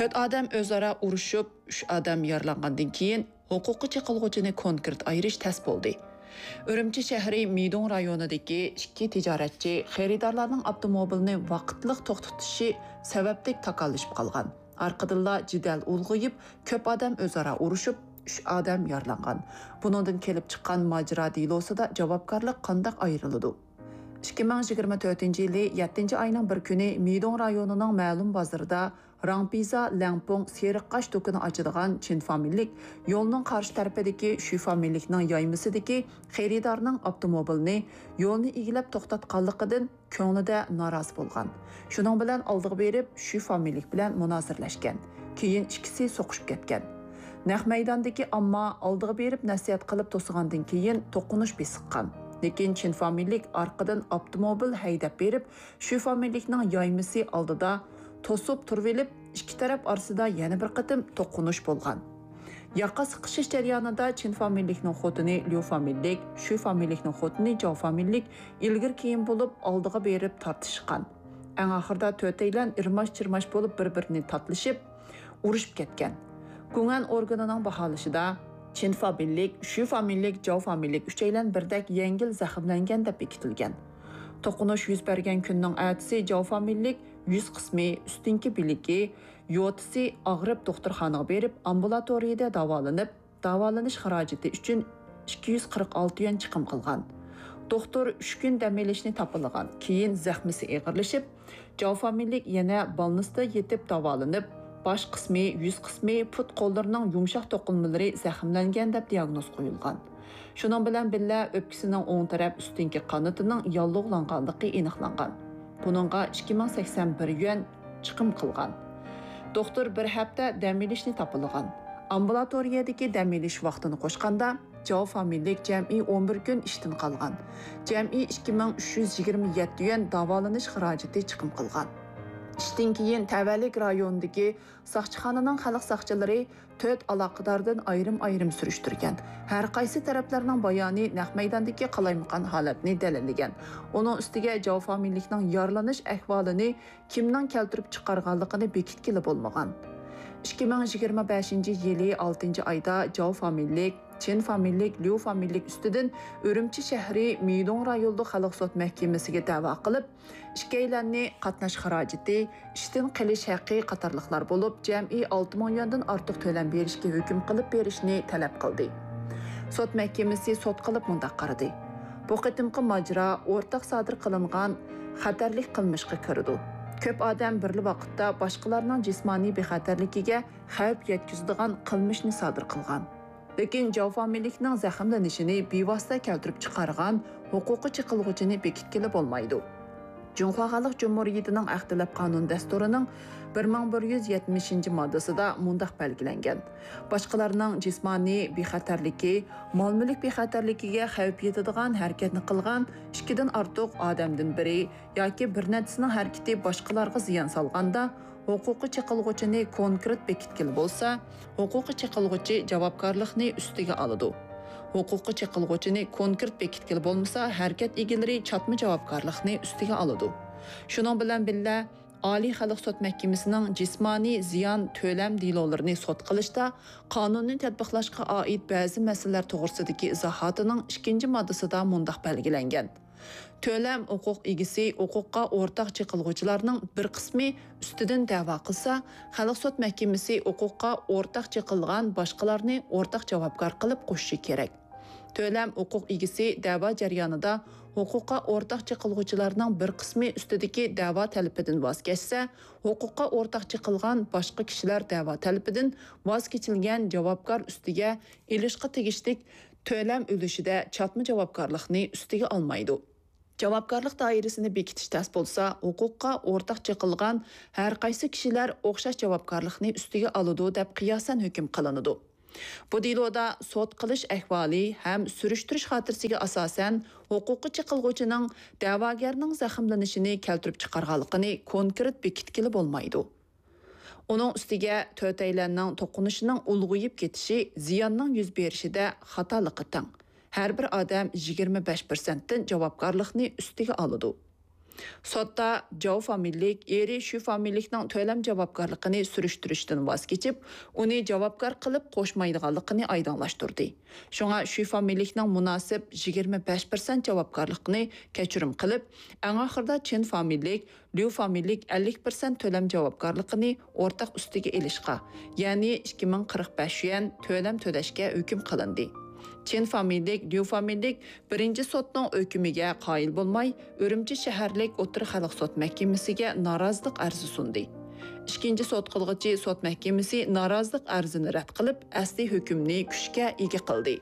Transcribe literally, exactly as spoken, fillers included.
تۆت ئادەم ئۆزئارا ئۇرۇشۇپ، ئۈچ ئادەم يارىلانغاندىن كېيىن، ھوقۇققا چېقىلغۇچىنى كونكرېت ئايرىش تەس بولدى. ئۈرۈمچى شەھىرى مىدوڭ رايونىدىكى ئىككى تىجارەتچى خېرىدارلارنىڭ ئاپتوموبىلىنى ۋاقىتلىق توختىتىشى سەۋەبلىك تاكاللىشىپ قالغان. ئارقىدىنلا جېدەل ئۇلغىيىپ، كۆپ ئادەم ئۆزئارا ئۇرۇشۇپ، ئۈچ ئادەم يارىلانغان. بۇنىڭدىن كېلىپ چىققان ماجىرا دېلوسىدا جاۋابكارلىق قانداق ئايرىلىدۇ؟ ئىككى مىڭ يىگىرمە تۆتىنچى يىلى يەتتىنچى ئاينىڭ بىر كۈنى مىدوڭ رايونىنىڭ مەلۇم بازىرىدا راڭپىزا لەڭپۇڭ سېرىق قاش دۇكىنى ئاچىدىغان چىن فامىلىلىك يولنىڭ قارشى تەرىپىدىكى شۈ فامىلىلىكنىڭ يايمىسىدىكى خېرىدارنىڭ ئاپتوموبىلىنى يولنى ئىگىلەپ توختاتقانلىقىدىن كۆڭلىدە نارازى بولغان. شۇنىڭ بىلەن ئالدىغا بېرىپ، شۈ فامىلىلىك بىلەن مۇنازىرىلەشكەن. كېيىن ئىككىسى سوقۇشۇپ كەتكەن. نەق مەيداندىكى ئامما ئالدىغا بېرىپ نەسىھەت قىلىپ توسىغاندىن كېيىن توقۇنۇش بېسىققان. لېكىن چىن فامىلىلىك ئارقىدىن ئاپتوموبىل ھەيدەپ بېرىپ، شۈ فامىلىلىكنىڭ يايمىسى ئالدىدا توسۇپ تۇرۇۋېلىپ، ئىككى تەرەپ ئارىسىدا يەنە بىر قېتىم توقۇنۇش بولغان. ياقا سىقىشىش جەريانىدا چىن فامىلىلىكنىڭ خوتۇنى ليۇ فامىلىلىك، شۈ فامىلىلىكنىڭ خوتۇنى جاۋ فامىلىلىك ئىلگىرى كېيىن بولۇپ ئالدىغا بېرىپ تارتىشقان. ئەڭ ئاخىرىدا تۆتەيلەن ئىرماش-چىرماش بولۇپ بىر-بىرىنى تاتلىشىپ، ئۇرۇشۇپ كەتكەن. گۇڭئەن ئورگىنىنىڭ باھالىشىدا، چىن فامىلىلىك، شۈ فامىلىلىك، جاۋ فامىلىلىك ئۈچەيلەن بىردەك يەڭگىل زەخىملەنگەن دەپ بېكىتىلگەن. توقۇنۇش يۈز بەرگەن كۈننىڭ ئەتىسى جاۋ فامىلىلىك يۈز قىسمى، ئۈستۈنكى بىلىكى، يوتىسى ئاغرىپ دوختۇرخانىغا بېرىپ، ئامبۇلاتورىيەدە داۋالىنىپ، داۋالىنىش خىراجىتى ئۈچۈن ئىككى يۈز قىرىق ئالتە يۈەن چىقىم قىلغان. دوختۇر ئۈچ كۈن دەم ئېلىشنى تاپىلىغان، كېيىن زەخمىسى ئېغىرلىشىپ، جاۋ فامىلىلىك يەنە بالنىستا يېتىپ داۋالىنىپ، باش قىسمى، يۈز قىسمى، پۇت-قوللىرىنىڭ يۇمشاق توقۇلمىلىرى زەخىملەنگەن دەپ دىياگنوز قويۇلغان. شۇنىڭ بىلەن بىللە، ئۆپكىسىنىڭ ئوڭ تەرەپ ئۈستۈنكى قانىتىنىڭ ياللۇغلانغانلىقى ئېنىقلانغان. بۇنىڭغا ئىككى مىڭ سەكسەن بىر يۈەن چىقىم قىلغان. دوختۇر بىر ھەپتە دەم ئېلىشنى تاپىلىغان. ئامبۇلاتورىيەدىكى دەم ئېلىش ۋاقتىنى قوشقاندا، جاۋ فامىلىلىك جەمئىي ئون بىر كۈن ئىشتىن قالغان. جەمئىي ئىككى مىڭ ئۈچ يۈز يىگىرمە يەتتە يۈەن داۋالىنىش خىراجىتى چىقىم قىلغان. ئىشتىن كېيىن تەۋەلىك رايونىدىكى ساقچىخانىنىڭ خەلق ساقچىلىرى تۆت ئالاقىداردىن ئايرىم-ئايرىم سۈرۈشتۈرگەن. ھەر قايسى تەرەپلەرنىڭ بايانى نەق مەيداندىكى قالايمىقان ھالەتنى دەلىللىگەن. ئۇنىڭ ئۈستىگە جاۋ فامىلىلىكنىڭ يارىلىنىش ئەھۋالىنى كىمنىڭ كەلتۈرۈپ چىقارغانلىقىنى بېكىتكىلى بولمىغان. ئىككى مىڭ يىگىرمە بەشىنچى يىلى ئالتىنچى ئايدا جاۋ فامىلىلىك، چىن فامىلىلىك، ليۇ فامىلىلىك ئۈستىدىن ئۈرۈمچى شەھىرى مىدوڭ رايونلۇق خەلق سوت مەھكىمىسىگە دەۋا قىلىپ، ئىككىيلەننى قاتناش خىراجىتى، ئىشتىن قېلىش ھەققى قاتارلىقلار بولۇپ، جەمئىي ئالتە مىڭ يۈەندىن ئارتۇق تۆلەم بېرىشكە ھۆكۈم قىلىپ بېرىشنى تەلەپ قىلدى. سوت مەھكىمىسى سوت قىلىپ مۇنداق قارىدى: بۇ قېتىمقى ماجىرا ئورتاق سادىر قىلىنغان خەتەرلىك قىلمىشقا كىرىدۇ. كۆپ ئادەم بىرلا ۋاقىتتا باشقىلارنىڭ جىسمانىي بىخەتەرلىكىگە خەۋپ يەتكۈزىدىغان قىلمىشنى سادىر قىلغان. لېكىن جاۋ فامىلىلىكنىڭ زەخىملىنىشىنى بىۋاسىتە كەلتۈرۈپ چىقارغان ھوقۇققا چېقىلغۇچىنى بېكىتكىلى بولمايدۇ. جۇڭخۇا خەلق جۇمھۇرىيىتىنىڭ ئەخلەت قانۇن دەستۇرىنىڭ بىر مىڭ بىر يۈز يەتمىشىنچى ماددىسىدا مۇنداق بەلگىلەنگەن: باشقىلارنىڭ جىسمانىي بىخەتەرلىكى، مال-مۈلۈك بىخەتەرلىكىگە خەۋپ يېتىدىغان ھەرىكەتنى قىلغان ئىككىدىن ئارتۇق ئادەمدىن بىرى ياكى بىر نەچچىسىنىڭ ھەرىكىتى باشقىلارغا زىيان سالغاندا، ھوقۇققا چېقىلغۇچىنى كونكرېت بېكىتكىلى بولسا، ھوقۇققا چېقىلغۇچى جاۋابكارلىقنى ئۈستىگە ئالىدۇ. ھوقۇققا چېقىلغۇچىنى كونكرېت بېكىتكىلى بولمىسا، ھەرىكەت ئىگىلىرى چاتما جاۋابكارلىقنى ئۈستىگە ئالىدۇ. شۇنىڭ بىلەن بىللە، ئالىي خەلق سوت مەھكىمىسىنىڭ جىسمانىي زىيان تۆلەم دېلولىرىنى سوت قىلىشتا قانۇننى تەتبىقلاشقا ئائىت بەزى مەسىلىلەر توغرىسىدىكى ئىزاھاتىنىڭ ئىككىنچى ماددىسىدا مۇنداق بەلگىلەنگەن: تۆلەم ھوقۇق ئىگىسى ھوقۇققا ئورتاق چېقىلغۇچىلارنىڭ بىر قىسمى ئۈستىدىن دەۋا قىلسا، خەلق سوت مەھكىمىسى ھوقۇققا ئورتاق چېقىلغان باشقىلارنى ئورتاق جاۋابكار قىلىپ قوشۇشى كېرەك. تۆلەم ھوقۇق ئىگىسى دەۋا جەريانىدا ھوقۇققا ئورتاق چېقىلغۇچىلارنىڭ بىر قىسمى ئۈستىدىكى دەۋا تەلىپىدىن ۋاز كەچسە، ھوقۇققا ئورتاق چېقىلغان باشقا كىشىلەر دەۋا تەلىپىدىن ۋاز كېچىلگەن جاۋابكار ئۈستىگە ئېلىشقا تېگىشلىك تۆلەم ئۈلۈشىدە چاتما جاۋابكارلىقنى ئۈستىگە ئالمايدۇ. جاۋابكارلىق دائىرىسىنى بېكىتىش تەس بولسا، ھوقۇققا ئورتاق چېقىلغان ھەر قايسى كىشىلەر ئوخشاش جاۋابكارلىقنى ئۈستىگە ئالىدۇ، دەپ قىياسەن ھۆكۈم قىلىنىدۇ. بۇ دېلودا سوت قىلىش ئەھۋالى ھەم سۈرۈشتۈرۈش خاتىرىسىگە ئاساسەن، ھوقۇققا چېقىلغۇچىنىڭ دەۋاگەرنىڭ زەخىملىنىشىنى كەلتۈرۈپ چىقارغانلىقىنى كونكرېت بېكىتكىلى بولمايدۇ. ئۇنىڭ ئۈستىگە تۆتەيلەننىڭ توقۇنۇشىنىڭ ئۇلغىيىپ كېتىشى زىياننىڭ يۈز بېرىشىدە خاتالىققا تەڭ. ھەر بىر ئادەم يىگىرمە بەش پىرسەنتتىن جاۋابكارلىقنى ئۈستىگە ئالىدۇ. سوتتا جاۋ فامىلىلىك ئېرى شۈ فامىلىلىكنىڭ تۆلەم جاۋابكارلىقىنى سۈرۈشتۈرۈشتىن ۋاز كېچىپ، ئۇنى جاۋابكار قىلىپ قوشمايدىغانلىقىنى ئايدىڭلاشتۇردى. شۇڭا شۈ فامىلىلىكنىڭ مۇناسىپ يىگىرمە بەش پىرسەنت جاۋابكارلىقنى كەچۈرۈم قىلىپ، ئەڭ ئاخىرىدا چىن فامىلىلىك، ليۇ فامىلىلىك ئەللىك پىرسەنت تۆلەم جاۋابكارلىقىنى ئورتاق ئۈستىگە ئېلىشقا، يەنى ئىككى مىڭ قىرىق بەش يۈەن تۆلەم تۆلەشكە ھۆكۈم قىلىندى. چىن فامىلىلىك، ليۇ فامىلىلىك بىرىنچى سوتنىڭ ھۆكمىگە قايىل بولماي، ئۈرۈمچى شەھەرلىك ئوتتۇرا خەلق سوت مەھكىمىسىگە نارازىلىق ئەرزى سۇندى. ئىككىنچى سوت قىلغۇچى سوت مەھكىمىسى نارازىلىق ئەرزىنى رەت قىلىپ، ئەسلى ھۆكۈمنى كۈچكە ئىگە قىلدى.